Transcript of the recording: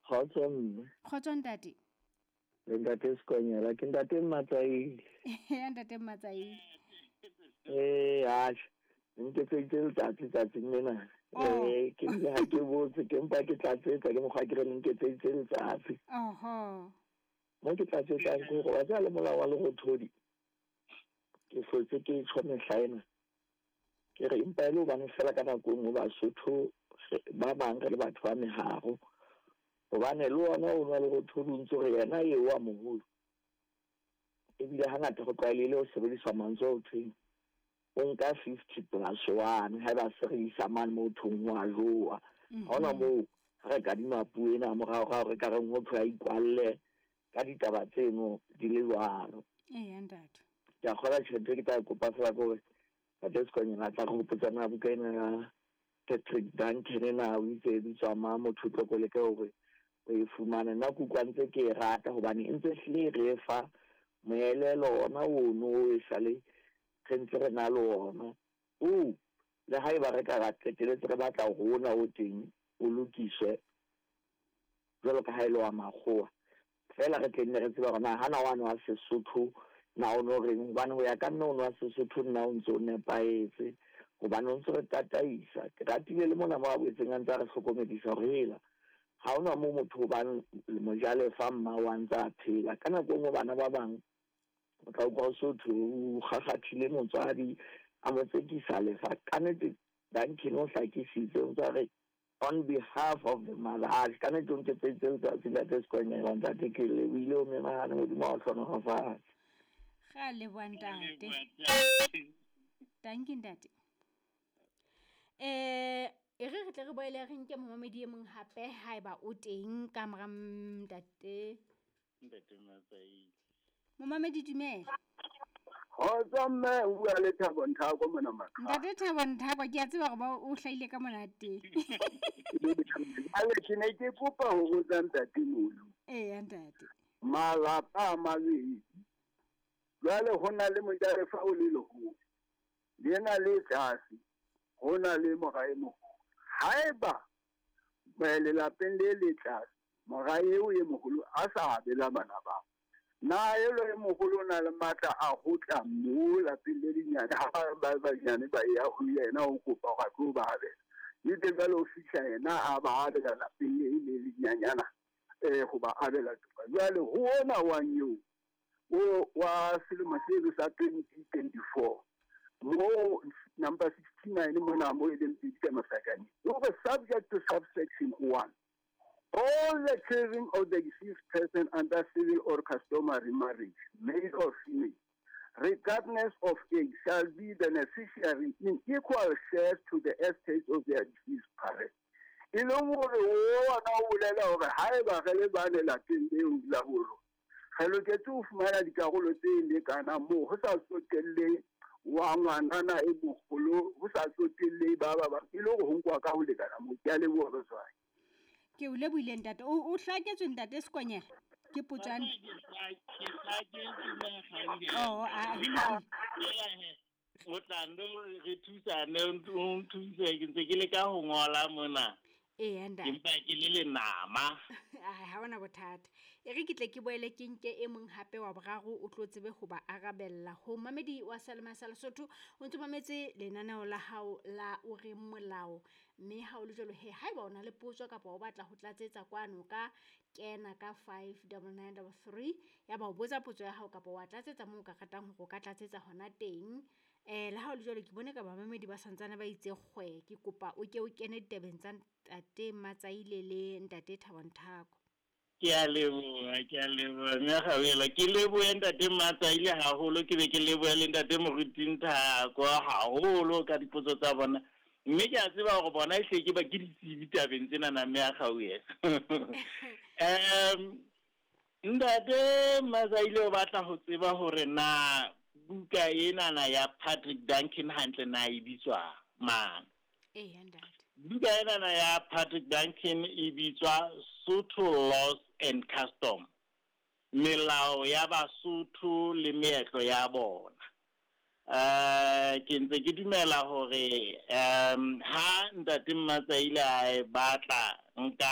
Kgotso mme. Kgotso ntate. Le ntate Sekonyela, ke ntate Mmatsaile. Ya ntate Mmatsaile. Eh, atjhe. Nketseditse letsatsi tsatsing lena. Oh. Eh, ke bile ha ke botse, ke mpa ke tlatsetsa ke mokgwa ke re le nketseditse letsatsi. Oho. Mo ke tlatsetsang ke hore wa tseba le molao wa lerothodi. Ke hlotse ke tjho mehla ena. Ke re empa e le hobane fela ka nako e nngwe Basotho ba bang re le batho ba meharo. Hobane le ona o nwa lerothodi o ntso re yena eo wa moholo. Ebile hangata ho tlwaelehile ho sebediswa mantswe ao thweng o nka 50 plus 1 haeba se re isa mane moo thweng ho a jowa. Ha hona moo ha re kadima puo ena moraorao re ka reng ho thwe a ikwalle ka ditaba tseno di le jwalo. Eya ntate. Ke a kgolwa tjhelete ke tla e kopa fela ke hore Ntate Sekonyela a tla re hopotsa na buka ena ya Patrick Duncan na o itse e bitswa mang, motho o tlo ko leke hore o e fumane. Nna ke utlwa ntse ke e rata hobane e ntse hlile e re fa moelelo ona ono o e sale re ntse re na le ona. O le haeba re ka ra qeteletse re batla hore ona o teng o lokiswe jwalo ka ha e le wa makgowa, feela re tle nne re tsebe hore na hana wane wa Sesotho na o no reng, hobane ho ya ka nna ono wa Sesotho nna o ntse o nepahetse, hobane o ntse re tataisa. Ke ratile le mona mo a boetseng a ntse a re hlokomedisa hore hela ha hona moo motho o bang mojalefa mmao a ntse a phela. Ka nako e nngwe bana ba bang o tla utlwa ho so thwe o kgakgathile motswadi a mo tsekisa lefa. Kannete Duncan o hlakisitse, o ntse a re on behalf of the mother. Atjhe, ka nnete o nketseditse letsatsi ntate Sekonyela, ntate ke lebohile o menahane, Modimo a o hlohonolofatse. Ra leboha ntate. Thank you ntate. E re re tle re boele re nke momamedi e mong hape haeba o teng ka mora ntate. Ntate Matsaile. Momamedi dumela. Kgotso mme, o bua le Thabo Nthako mona Makhado. Ntate Thabo Nthako, ke a tseba hore ba o hlahile ka monate. Jwale ke ne ke kopa ho botsa ntate Molu. Eya ntate. Malapa a mabedi. Jwale ho na le mojalefa o le leholo. Lena le tlase, ho na le mora e moholo. Haeba lelapeng le le tlase, mora eo e moholo a sa abela bana bao, na elo e moholo o na le matla a ho tla moo lapeng le lenyane, ha ba banyane ba ya ho yena ho kopa hore a tlo ba abela. Le teng jwale o fihla yena a ba abela lapeng le le lenyanyana, ho ba abela toka. Jwale ho ona wa eo, o wa selemo seno sa 2024, mo number 69 mona mo e leng pedi ka masakane, o re subject to subsection 1, all the children of the deceased person under civil or customary marriage, male or female, regardless of age, shall be beneficiary in equal shares to the estate of their deceased parent. E leng hore ona o bolela hore haeba re le bane lapeng leo la borona, re loketse ho fumana dikarolo tse lekanang moo ho sa tsotelle wa ngwanana e moholo, ho sa tsotelle ba ba bang, e le hore ho nkuwa ka ho lekana moo. Ke a leboha batswadi. Ke o lebohile ntate. O hlaketswe ntate Sekonyela? Ke potso ya Ke hlaketswe nna Gauhelo. Oh, a, ho lokile. O tla nno re thusane, o nthuse, ke ntse ke leka ho ngola mona. Eya, ntate. Ke mpa ke le lenama. Ai, ha hona bothata. E re ke tle ke boele ke nke e mong hape wa boraro o tlo tsebe ho ba arabella. Ho mamedi wa Salema sa Lesotho, o ntso mametse lenaneo la hao la o reng molao. Mme ha o le jwalo he, haeba o na le potso kapa o batla ho tlatsetsa kwano ka kena ka five double nine double three, ya ba o botsa potso ya hao kapa wa tlatsetsa moo o ka ratang hore o ka tlatsetsa hona teng. Le ha o le jwalo, ke bone ka bamamedi ba santsane ba itse kgwe, ke kopa o ke o kene ditabeng tsa ntate Matsaile le ntate Thabo Nthako. Ke a leboha, ke a leboha, mme Gauhelo. Ke lebohe ntate Matsaile haholo, ke be ke lebohe le ntate Moruti Nthako haholo ka dipotso tsa bona. Mme ke a tseba hore bona ehlile ke ba ke ditsebi tabeng tsenana, mme a Gauhelo. Ntate Matsaile o batla ho tseba hore na buka enana ya Patrick Duncan hantle na e bitswa mang? Eya, ntate. Buka enana ya Patrick Duncan e bitswa Sotho Laws and Custom, melao ya Basotho le meetlo ya bona. Ke ntse ke dumela hore, ha ntate Matsaile a e batla, nka